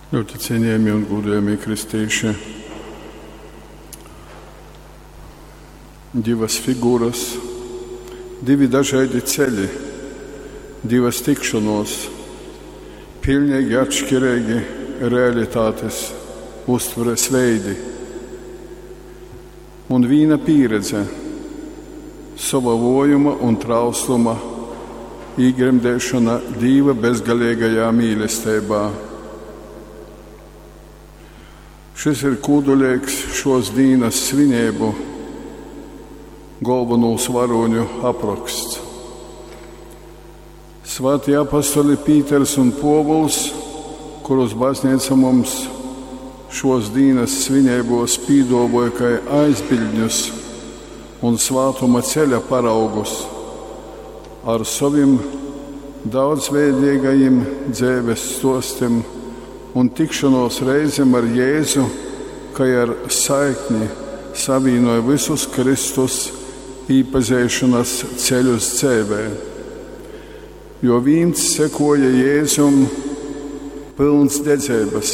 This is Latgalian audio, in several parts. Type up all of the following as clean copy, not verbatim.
Ļoti cienījamie un godējamie kristīši, divas figūras, divi dažādi ceļi, divas tikšanos, pilnīgi atšķirīgi realitātes uztveres veidi un vīna pieredze sava vojuma un trausluma īgremdēšana Dīva bezgalīgajā mīlestībā. Šis ir kūdulīgs šos dīnas svinību galvenūs varoņu apraksts. Svētie apostoli Pīters un Povuls, kurus baznīca mums šos dīnas svinībos pīdovoja kā aizbildņus un svātuma ceļa paraugus ar saviem daudzveidīgajiem dzīves stostiem un tikšanos reizēm ar Jēzu, kā ar saikni savienoja visus Kristus īpazīšanas ceļus dzīvē. Jo viens sekoja Jēzum pilns dedzības,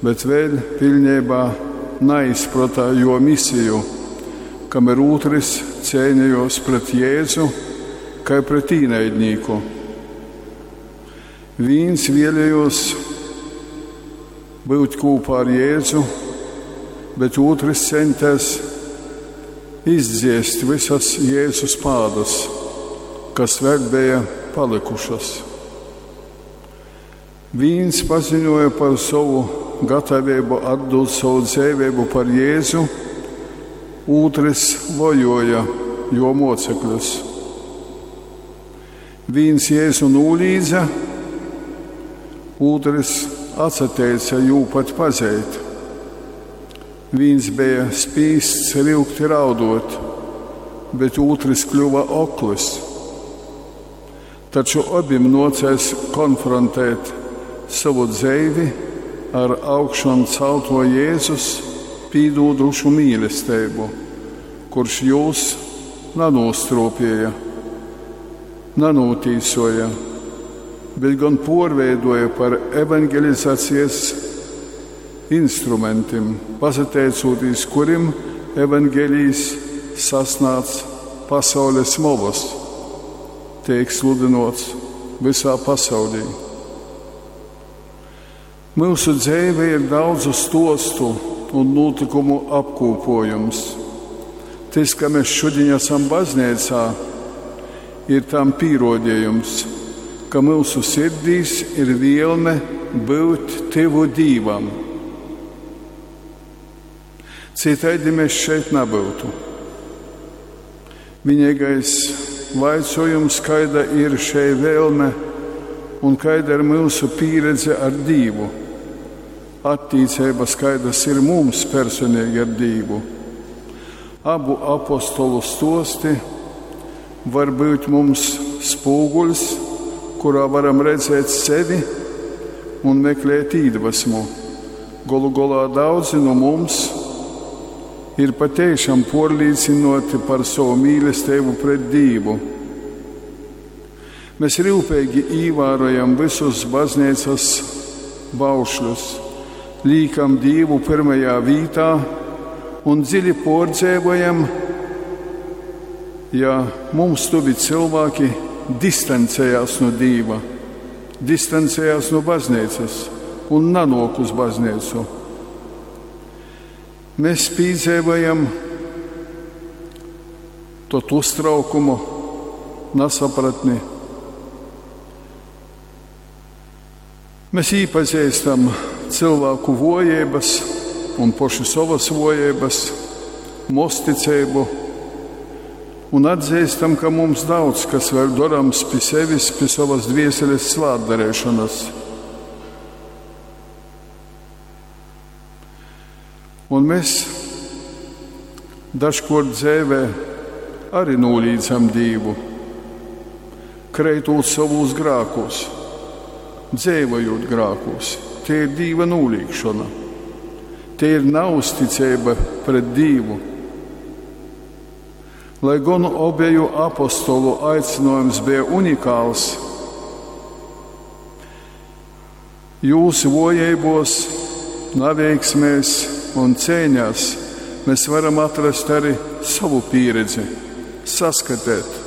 bet vēl pilnībā neizprata jo misiju, kamēr otrs cīnījos pret Jēzu, kā pret īnaidnieku. Viens vēlējos būt kopā ar Jēzu, bet otrs centās izdziest visas Jēzus pādas, kas vēl bija palikušas. Viens paziņoja par savu gatavību atdot savu dzīvību par Jēzu, otrs vojoja jo mocekļus. Viens Jēzu nolīdza, otrs atsateica jū pat pazeit. Viens bija spīsts ryugti raudot, bet otrs kļuva oklis. Taču abiem nocēs konfrontēt savu dzīvi ar augšanu celto Jēzus pīdūdušu mīlestību, kurš jūs nanostrūpēja, nanotīsoja, bet gan porveidoja par evangelizācijas instrumentiem, pasateicoties kurim evangelijas sasnāc pasaules molas, tiek sludinots visā pasaulī. Mūsu dzīve ir daudzu stostu un notikumu apkopojums. Tas, ka mēs šodien esam baznīcā, ir tam pierodījums, ka mūsu sirdīs ir vielme būt tevu Dīvam. Citādi mēs šeit nebūtu. Vienīgais vaicojums, kāda ir šī vēlme un kāda ir mūsu pieredze ar Dievu. Attīcības, kādas ir mums personīgi ar Dievu. Abu apostolu stosti var būt mums spūguļs, kurā varam redzēt sevi un meklēt iedvesmu. Golu galā daudzi no mums ir patiešām porlīdzinoti par savu mīlestību pret Dievu. Mēs rūpīgi ievērojam visus baznīcas baušļus, liekam Dievu pirmajā vietā un dziļi pordzēvojam, ja mums tuvi cilvēki distancējās no Dieva, distancējās no baznīcas un nanok uz baznīcu. Mēs piedzīvojam to uztraukumu, nesapratni. Mēs iepazīstam cilvēku vojības un pašu savas vojības, mosticību un atzīstam, ka mums daudz kas vēl darams pie sevis, pie savas dvieseles svātdarēšanas. Un mēs dažkārt dzīvē arī nolīdzam Dievu, kreitot savos grākos, dzīvojot grākos. Tie ir Dieva nolīgšana, tie ir neusticība pret Dievu. Lai gan obeju apostolu aicinājums bija unikāls, Jūs vōjeibōs, naveiksmēs un ceiņās mes varam atrast ari sovu pīredzi, saskateit.